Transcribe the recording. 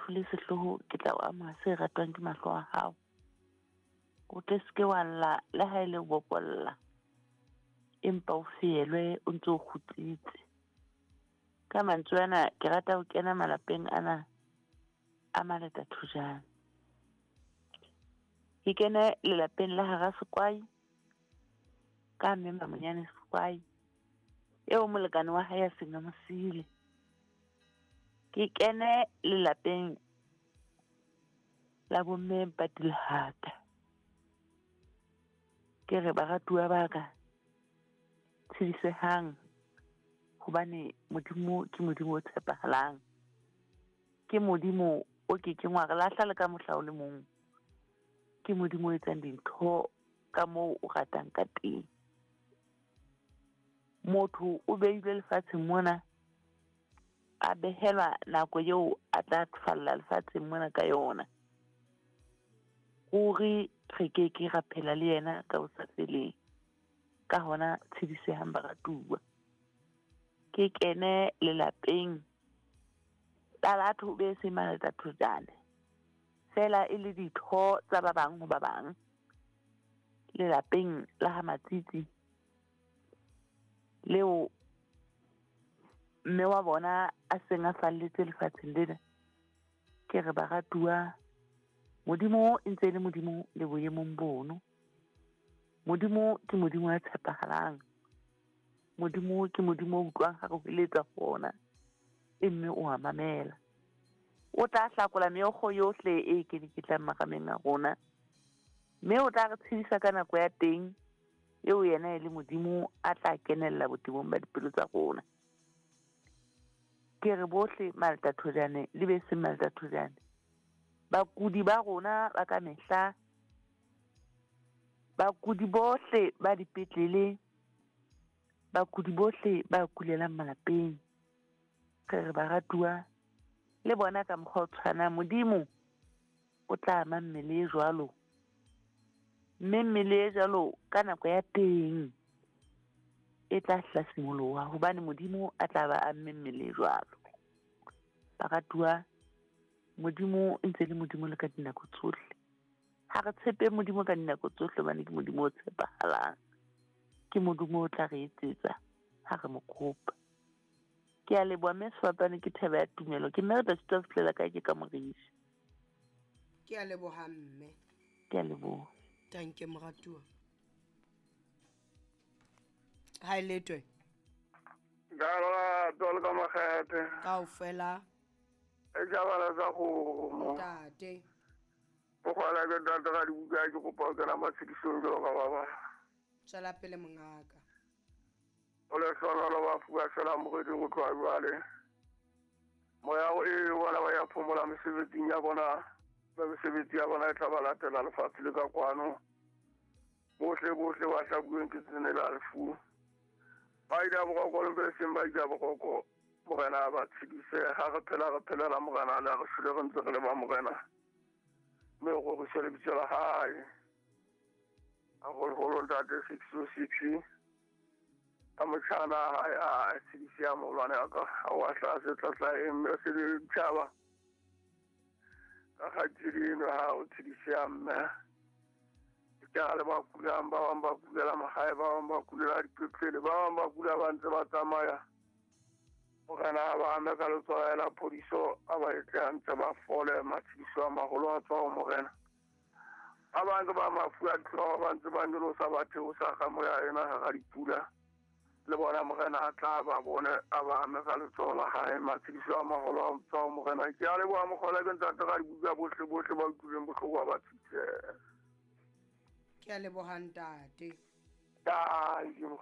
lefu le sehloho ke tla o amoha se ratwang ke mahlo a hao. O tle se ke wa lla le ha e le ho bokolla, empa o feelwe o ntse o kgutsitse. Ka mantswe ana ke rata ho kena malapeng ana a maleta thojana. Ke kene lelapeng la hara Sekwai ka mme Mamonyane Sekwai eo molekane wa hae a seng a mo siile. Ke kene lelapeng la bomme Mpatilehata. Ke re baratuwa ba ka tshedisehang hobane Modimo ke Modimo o tshepahalang. Ke Modimo o ke keng wa re lahla le ka mohla o le mong. Ke Modimo o etsang dintho ka moo o ratang ka teng. Motho o beilwe lefatsheng mona, a behelwa nako eo a tla falla lefatsheng mona ka yona. Ruri re ke ke ra phela le yena ka ho sa feleng. Ka hona tshedisehang baratuwa. Ke kene lelapeng la batho be seng maletathojane, feela e le ditho tsa ba bang ho ba bang. Lelapeng la ha Matsitsi leo mme wa bona a seng a falletse lefatsheng lena, ke re baratuwa, Modimo e ntse e le Modimo le boemong bono. Modimo ke Modimo ya tshepahalang. Modimo ke Modimo o utlwang ha re hweletsa ho ona, e mme o a mamela. O tla hlakola meokgo yohle e keleketlang marameng a rona, mme o tla re tshedisa ka nako ya teng eo yena e le Modimo a tla kenella botebong ba dipelo tsa rona. Ke re bohle maltathojane le be seng maltathojane, bakudi ba rona ba ka mehla, bakudi bohle ba dipetlele, bakudi bohle ba kulelang malapeng, re re baratuwa le bona ka mokgwa o tshwanang, Modimo o tla ama mmele e jwalo, mme mmele e jwalo ka nako ya teng e tla hlasimoloha, hobane Modimo a tla ba amme mmele e jwalo. Baratuwa, Modimo e ntse le Modimo le ka dinako tsohle. Ha re tshepe Modimo ka dinako tsohle, hobane ke Modimo o tshepahalang. Ke Modimo o tla re etsetsa ha re mo kopa. Ke a leboha mme sefapano ke thebe ya tumelo. Ke mme re tla sitwa ho fihlela kae ke ka morisi. Ke a leboha mme. Ke a leboha. Tanke moratuwa. Ha e letwe. Ka lerato le ka makgethe. Kaofela. E jabala tsa kgomo. Ntate. Bogwala ke ntate ga dibuka ke kopa ho kena matshedisong jwalo ka ba bang. Tswela pele mongaka. O lehlohonolo ba fuwa fela moreding ho tloha jwale. Moya o e bona ba ya phomola mesebetsing ya bona, ba mesebetsi ya bona e tla ba latela lefatshe le ka kwano. Bohle bohle ba hlabuweng ke tsene la lefu. Ba ile boroko le be seng ba ile boroko. Morena ba tshedise ha re phela re phelela morena le re shwele re ntse re le ba morena. Mme o roriswe lebitso la hae. Haholoholo ntate 606 ka motjhana hae a tshedise ya moholwane wa ka ha wa hlaha tlatla e mme se le ditjhaba. Ka kgaitsedi eno ha o tshedise ya mme. Ke a le ba kulang, ba bang ba kulela mahae, ba bang ba kulela dipetlele, ba bang ba kula ba ntse ba tsamaya. Morena a ba ame ka letsoho la phodiso, a ba etse hantle ba fole, matshediso a maholo a tswa ho morena. Ba bang ke ba mafu a dihlooho ba ntse ba nyolosa ba theosa ka moya ena hara dipula. Le bona morena a tla ba bone, a ba ame ka letsoho la hae, matshediso a maholo a tswa ho morena. Ke a leboha mokgola ke ntate ga dibuka bohle bohle ba utlwileng bohloko ba ba tshedise. Ke a leboha ntate. Thank you.